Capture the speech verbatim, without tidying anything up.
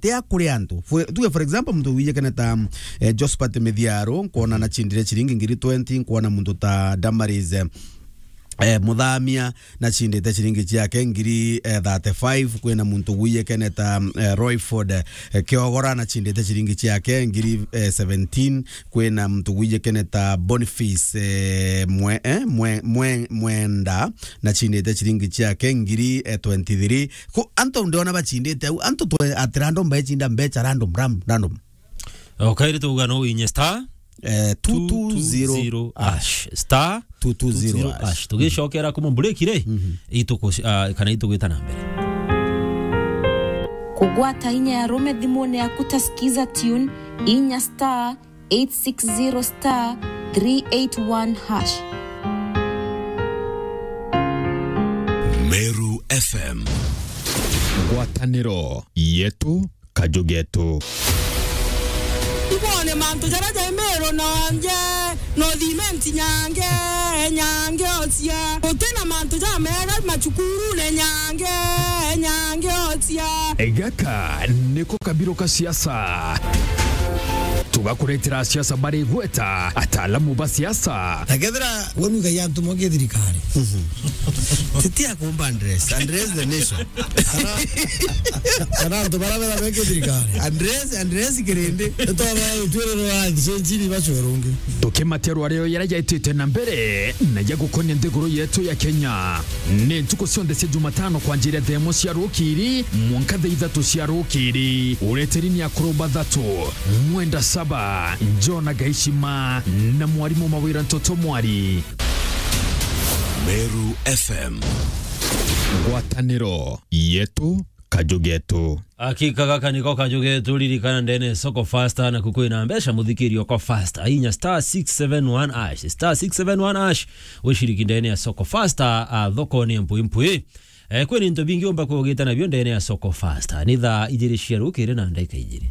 tia kuri antu. For, tuge for example, muntu wijikene ta, eh, Josephat Mithiaro, nkwona na chindire chiringi ngiri twenty, nkwona muntu ta Damaris, eh, eh, Muthamia, na chindite chiringi chiake ngiri, eh, thirty-five, kwina muntu wijikene ta, eh, Royford, eh, Kiogora, na chindite chiringi chiake ngiri, eh, seventeen, kwina muntu wijikene ta Boniface, eh, Mwe-, eh, Mwe-, Mwe-, Mwenda, na chindite chiringi chiake ngiri, eh, twenty-three. Ku antu ndiona bachindite au, antu twe at random bechinda mbecha random, ram-, random. Okay, tuga no inye star, eh, two two zero hash. Star two two zero hash. Tugicokera kuma break ri, ituku-, ah, kana itugwita na mbere. Kugwata inya ya rume thimune yaku ta Skiza Tune, inya star eight six zero star three eight one hash. Meru F M. Ngwataniro yetu, kaju getu. Ibone mantu jaria jai Meru nonje, no thimenti nyange, nyange ocia. Gutina mantu jamega macukurune nyange, nyange ocia. Gaka niko kabiro ka siasa. Tugakuretera siasa bari gweta, ataalamu ba siasa. Na kethira we nuga ya antu moke thirikari. Titi akumba address, address the nation. Kana, kana antu bara bera beke thirikari. Address, address kirindi. Twaba utwiriro wa nchini bacwerungi. Tukimatia rwario yara yaitite na mbere, na ya gukonia nthiguru yetu ya Kenya. Ni ntuku cionthe cia Jumatano kwanjiria thaa imwe cia rukiri, mwanka thaa ithatu cia rukiri. Ureteri ni akuru bathatu, Mwenda Saba, Jona Gaishima, na mwarimu Mawira Ntoto Mwari. Meru F M. Ngwataniro yetu, kaju getu. Akika gaka niko kaju getu, ririkana ndene ya Soko Fasta na kukwina mbeca muthikiri oko Fasta. Inya star six seven one hash, star six seven one hash, wishiriki ndene ya Soko Fasta, a, thoko ni mpwi mpwi. Eh, kwina into bingi umba kugita nabio ndene ya Soko Fasta. Ni thaa ijiri cia rukiri na ndagika ijiri.